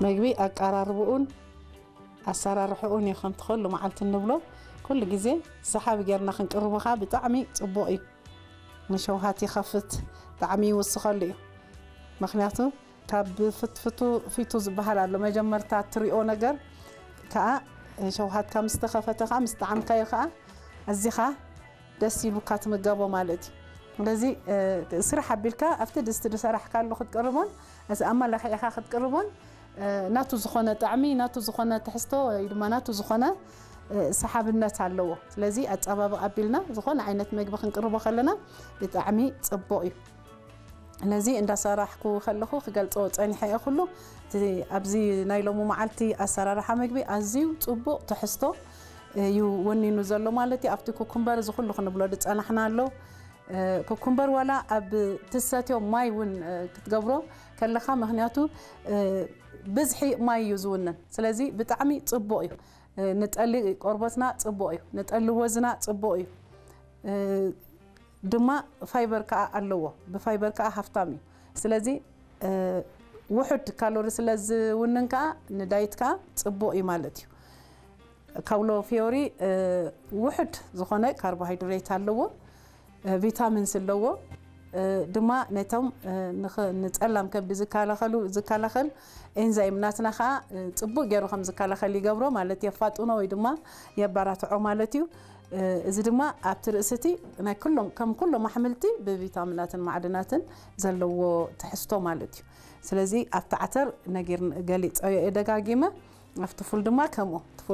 መግቢ ኣቀራርብኡን ኣሰራርሕኡን እዩ ከምቲ ኩሉ መዓልቲ እንብሎ። ኩሉ ግዜ ሰሓቢ ጌርና ክንቅርቦ ከዓ ብጣዕሚ ጽቡቕ እዩ። ንሸውሃት ይኸፍት፣ ጣዕሚ ይውስኸሉ እዩ። ምኽንያቱ ካብ ፍትፍቱ ፊቱ ዝበሃል ኣሎ። መጀመርታ እትሪኦ ነገር ከዓ ሸውሃትካ ምስ ተኸፈተ ከዓ ምስ ጣዕምካዮ ከዓ ኣዚኻ ደስ ኢሉካ ትምገቦ ማለት እዩ። ስለዚ ስራሕ ኣቢልካ ኣብቲ ድስቲ ዝሰራሕካሉ ክትቅርቦን እዚ ኣመላኺዕካ ክትቅርቦን ናቱ ዝኾነ ጣዕሚ፣ ናቱ ዝኾነ ትሕዝቶ ወይ ድማ ናቱ ዝኾነ ሰሓብነት ኣለዎ። ስለዚ ኣጸባብቕ ኣቢልና ዝኾነ ዓይነት መግቢ ክንቅርቦ ከለና ብጣዕሚ ጽቡቕ እዩ። ነዚ እንዳሰራሕኩ ከለኹ ክገልጾ ጸኒሐ እየ። ኩሉ እቲ ኣብዚ ናይ ሎሚ መዓልቲ ኣሰራርሓ መግቢ ኣዝዩ ጽቡቕ ትሕዝቶ እዩ ወኒኑ ዘሎ ማለት እዩ። ኣብቲ ኩኩምበር እዚ ኩሉ ክንብሎ ዝጸናሕና ኣሎ። ኩኩምበር ዋላ ኣብ ትሰትዮ ማይ እውን ክትገብሮ ከለኻ፣ ምኽንያቱ ብዝሒ ማይ እዩ ዝውንን። ስለዚ ብጣዕሚ ጽቡቕ እዩ። ንጠሊ ቆርበትና ጽቡቕ እዩ፣ ንጠሊ ወዝና ጽቡቕ እዩ። ድማ ፋይበር ከዓ ኣለዎ፣ ብፋይበር ከዓ ሃፍታም እዩ። ስለዚ ውሑድ ካሎሪ ስለ ዝውንን ከዓ ንዳይት ከዓ ጽቡቕ እዩ ማለት እዩ። ካውሎ ፊዮሪ ውሑድ ዝኾነ ካርቦሃይድሬት ኣለዎ፣ ቪታሚንስ ኣለዎ። ድማ ነቶም ንጸላም ከብዲ ዝከላኸሉ ዝከላኸል ኤንዛይም ናትና ከዓ ጽቡቅ ገይሩ ከም ዝከላኸል ይገብሮ ማለት የፋጥኖ ወይ ድማ የባራትዖ ማለት እዩ። እዚ ድማ ኣብቲ ርእስቲ ናይ ኩሎም ከም ኩሎም ኣሕምልቲ ብቪታሚናትን ማዕድናትን ዘለዎ ትሕዝቶ ማለት እዩ። ስለዚ ኣብቲ ዓተር ነጊር ገሊፀዮ እየ ደጋጊመ። ኣብቲ ፉል ድማ ከምኡ። እቲ ፉል